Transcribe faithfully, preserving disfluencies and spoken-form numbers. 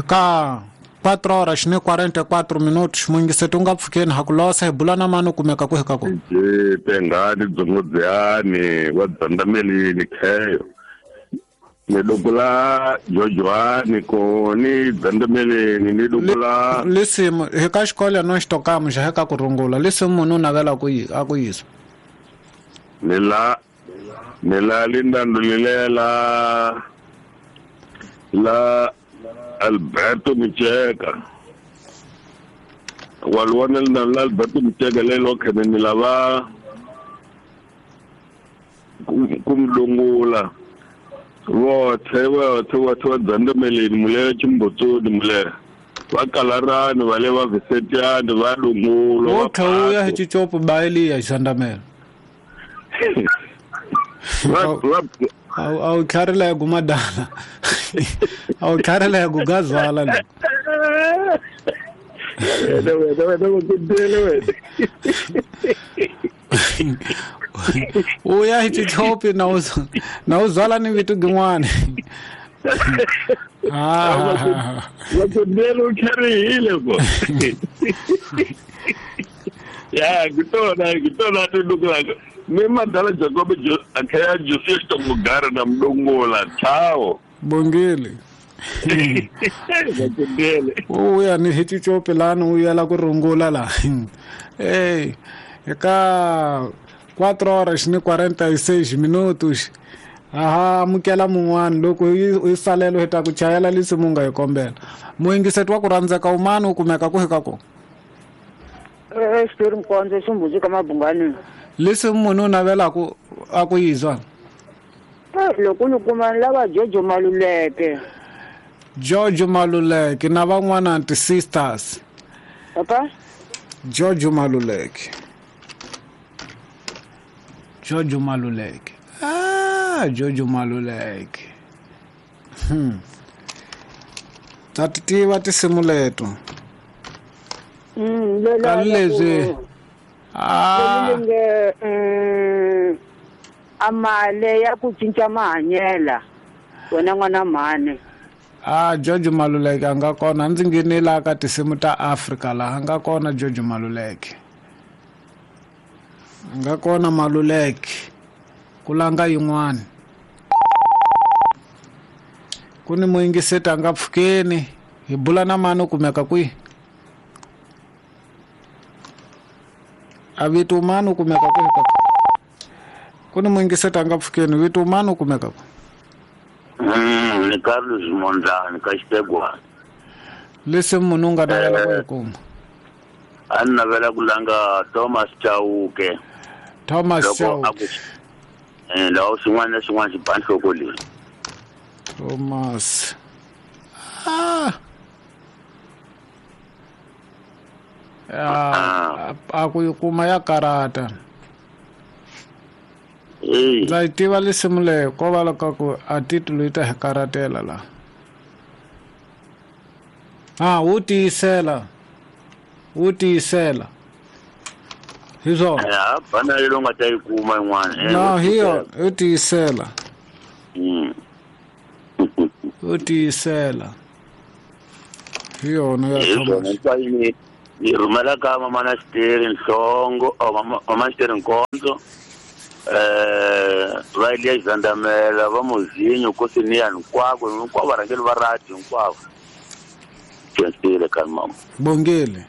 Ka quatro horas ni quarenta e quatro minutos muyingiseti u nga pfukeni ha ku losa hi bula na mani u kumeka kwihi ka kona. Tengani dzongodziyani wa dzandamelini kheyo ni dukula Jojoani ko ni dzandameleni ni dukula lisimu hi ka xikolo no xitokamu xa ka ku rungula lisimu munhu u navela ku yi a ku yisa ni la ni la lindandulilela la Alberto Micheka walwana la Alberto Micheka lelo khene ni lava kumdungula vothe vothe vothe va dzandameleni mulela chimbotsoni mulela va kalarani va le va visetiani va lungulo wo tlha hi chichopo baeliya xandamela a wu tlharila ku madala a wu tlharila ku gazala la u ya hi chichopi na u na u zwala ni vitu gin'wana ah va u tlharihile ko ya ngitona ngitona tudukulaka mi madala Jacob akhaya Joseph Tongogara na mdongola chao bongile u ya ni hi chichopi lani u yela ku rungula la ey eka quatro horas ni quarenta e seis minutos aha amukela mun'wana loko u salelo hi ta ku chayela lisimu nga hi kombela muyingiseti wa ku rhandzeka umani u kumeka kwihi ka kona. Eh xitori Mkondzo ximbuzi ka Mabungani lisimu munhu u navela ku a ku yizwa loko ni kuma ni lava Jojo Maluleke Jojo Maluleke na van'wana ti sisters papa Jojo Maluleke Jojo Maluleke ah Jojo Maluleke hmm ta ti tiva tinsimu leto mm lela leswi ah nge mm amale ya ku cinca mahanyela wena n'wana mhani ah Jojo Maluleke a nga kona ndzi nghenela ka tinsimu ta Afrika laha nga kona Jojo Maluleke nga kona Maluleke ku langa yin'wana ku ni muyingiseti a nga pfukeni hi bula na mani u kumeka kwihi a vito mani u kumeka kwihi ka ku ni muyingiseti a nga pfukeni vito mani u kumeka kwihi. Mm ni Carlos Mondlane ka Xitegwana lesimu munhu u nga navela ku yi kuma a ni navela ku langa Thomas Chauke Thomas Chauke eh lawo xin'wana na xin'wana xi ba nhloko leyi Thomas ah a a ku yi kuma ya karata ndza yi tiva lisimu leyo ko va loko ku a titulo yi ta hi karatela la ah wu tiyisela wu tiyisela hi swona ya bana leyi nga ta yi kuma yin'wana no hi yona wu tiyisela wu tiyisela hi yona ya Thomas yi rhumela ka mama na Xiteri Nhlongo mama Xiteri Nkondzo eh va Eliya Xandamela va Muzinyo Kosiniya hinkwako hinkwavo varhangeri va radio hinkwavo khensile ka mama bongile.